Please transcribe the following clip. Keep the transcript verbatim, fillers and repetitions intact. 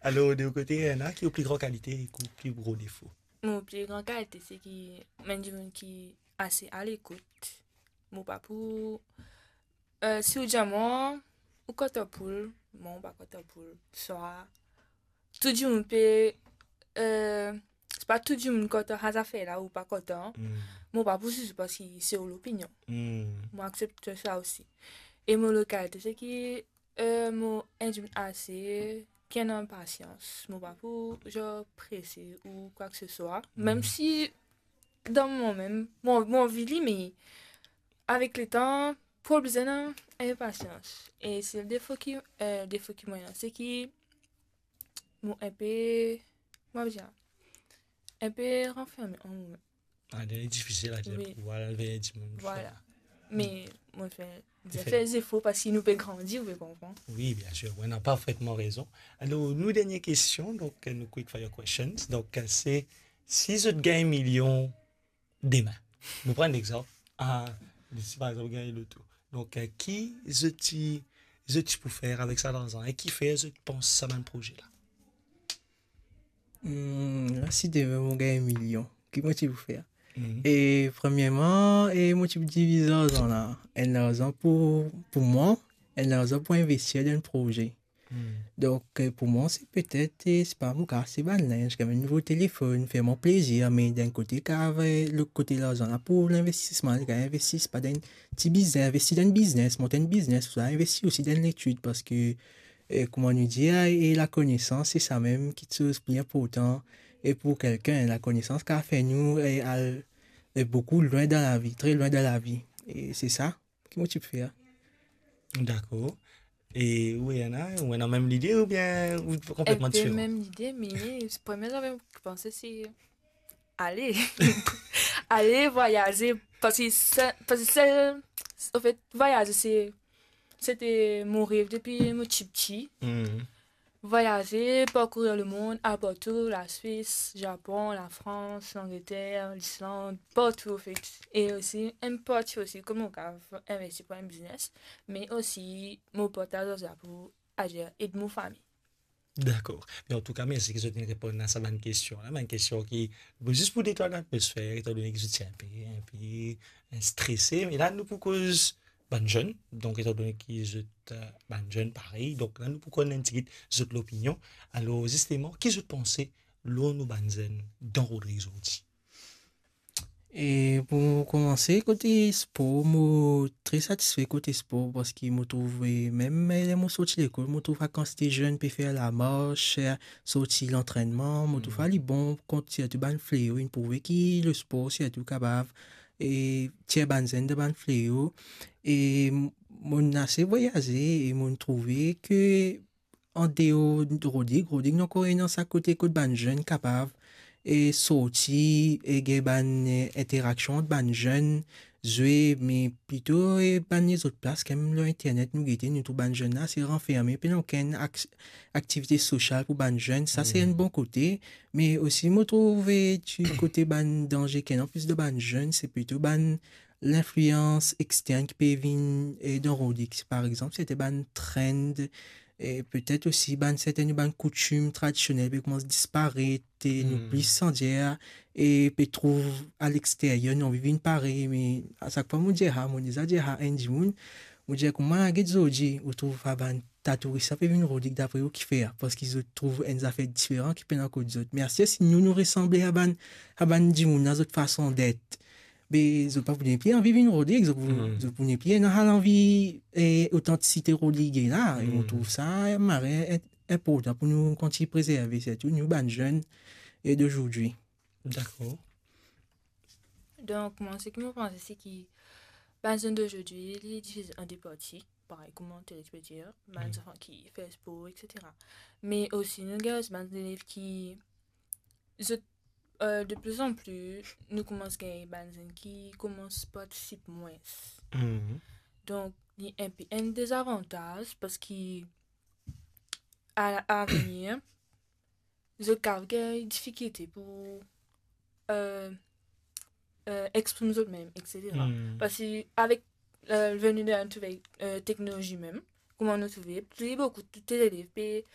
Alor, de ou kote, Rihanna, ki ou pli gran kalite ek ou pli gro defo? Mo pli gran kalite, se ki mo enn dimoun ki ase alekout. Mo pa pou, eh, si ou dir mwa, ou kontan pou l, mwa, mo pa kontan pou l. Swa, tou dimoun pe, eh, se pa tou dimoun kontan sa zafer la, ou pa kontan. Hmm. Mo pa pou ziz ou parski se ou lopinion. Hmm. Mo aksepte sa osi. E mo lot kalite, se ki, eh, mo enn dimoun ase ki ena pasians. Mo pa pou, zanr, prese ou kwa ke se swa. Hmm. Mem si dan moman mem, mo, mo anvi li, me avek letan, pou bizin ena enn pasians. E se le defo ki, eh, defo ki mo ena, se ki mo enpe, mo dir, enpe ranferme an mwa. Ah, li difisil a dir. Wi. Pou al ver dimoun. Vwala. Me mo fer, mo fer zefor parski nou pe grandi, ou pe konpran. Wi, bien sir. Wi, ou ena parfetman rezon. Alor, nou dernie kestion, donk, nou quick fire questions. Donk, se, si zot gagn milion demin, nou pran enn exanp, ah, si par exanp ou gagn loto. Donk, eh, ki zot ti, zot ti pou fer avek sa larzan? E kifer zot pans sa bann proze la? Hmm, la, si demin mo gagn milion, ki mo ti pou fer? Mhm. E premierman, e mo ti pou diviz larzan la. Enn larzan pou, pou mwa, enn larzan pou investir dan proze. Hmm. Donk, eh, pou mwa, se petet, eh, se pa mo kav aste bann linz, kav enn nouvo telefonn, fer mwa plezir, me dan enn kote kav, eh, lot kote larzan la pou linvestisman, kav investi, pa dan enn ti biznes, investi dan enn biznes, mont enn biznes, ouswa investi osi dan letid, parski, eh, kouma nou dir, eh, lakonesans, se sa mem ki kiksoz pli inportan. E pou kikenn, lakonesans kav fer nou, eh, al, eh, boukou lwin dan lavi, tre lwin dan lavi. E se sa ki mo ti pou fer. Dakor. E ou, Rihanna, ou ena mem lide oubien ou konpletman diferan? Enpe mem lide, me premie zafer mo panse, se ale. Ale vwayaze, parski se, parski sel, anfet, vwayaze, se, sete mo rev depi mo tipti. Hmm. Vwayaze, parkourir lemond, partou, Laswis, Zapon, Lafrans, Langleter, Lisland, partou, anfet. E osi, enn parti osi, kouma mo kav investi pou enn biznes, me osi, mo partaz larzan pou azer ed mo fami. Dakor. Me antouka, mersi ki zot inn reponn a sa bann kestion la. Bann kestion ki, bon, zis pou detann latmosfer, etandone ki zot ti enpe, enpe, eh, strese. Me la, nou pou koz bann zenn. Donk, etandone ki zot, eh, bann zenn parey, donk la, nou pou konn enn tigit zot lopinion. Alor, zisteman, ki zot panse lor nou bann zenn dan Rodrig zordi? E pou koumanse, kote spor, mo tre satisfe kote spor, parski mo trouve, mem ler mo sorti lekol, mo trouv sa kantite zenn pe fer lamars, sorti lantrennman, mo trouv sa li bon kont sirtou bann fleo, inn prouve ki lespor sirtou kapav, e, tir bann zenn dan bann fleo. E mo inn ase vwayaze e mo inn trouve ki andeor Rodrig, Rodrig nou ankor ena sa kote kot bann zenn kapav, e, sorti, e, gagn bann, e, interaksion ant bann zenn, zwe, me plito, e, bann lezot plas, kan mem lor internet nou gete, nou trouv bann zenn la, se ranferme, pena okenn ak-, aktivite sosial pou bann zenn. Sa, se enn bon kote, me osi, mo trouve, ti kote bann danze ki ena plis dan bann zenn, se plito bann linflians extern ki pe vinn, e, dan Rodrig. Par exanp, sete bann trend, e petet osi bann sertenn bann koutim tradisionel pe koumans disparet, e nou plis sandir, e pe trouv alexteryer, nou anvi vinn parey, me a sak fwa mo dir sa, mo deza dir sa enn dimoun, mo dir, kouma get zordi, ou trouv sa bann ta touris la pe vinn Rodrig, dapre ou kifer? Parski zot trouv enn zafer diferan ki pena kot zot. Me aster si nou, nou resanble a bann, a bann dimoun la, zot fason det, be, zot pa pou nepli anvi vinn Rodrig, zot pou, zot pou nepli ena sa lanvi, e, otantisite Rodrig la. E mo trouv sa mari in-, inportan pou nou kontign prezerve, sirtou nou bann zenn, e, dozordi. Dakor. Donk, mwa, seki mo panse, se ki bann zenn dozordi, li divize an de parti, parey kouma Terex pe dir, bann zanfan ki fer spor, et cetera. Me osi, nou gagn osi bann zelev ki, zot, e, de pli an pli, nou koumans gagn bann zenn ki koumans partisip mwins. Donk, li enpe enn dezavantaz, parski a, avenir, zot kav gagn difikilte pou, e, e, exprim zot mem, et cetera. Parski avek, e, veni de la nouvelle, e, teknolozi mem, kouma nou trouve, pli boukou tou lezelev pe,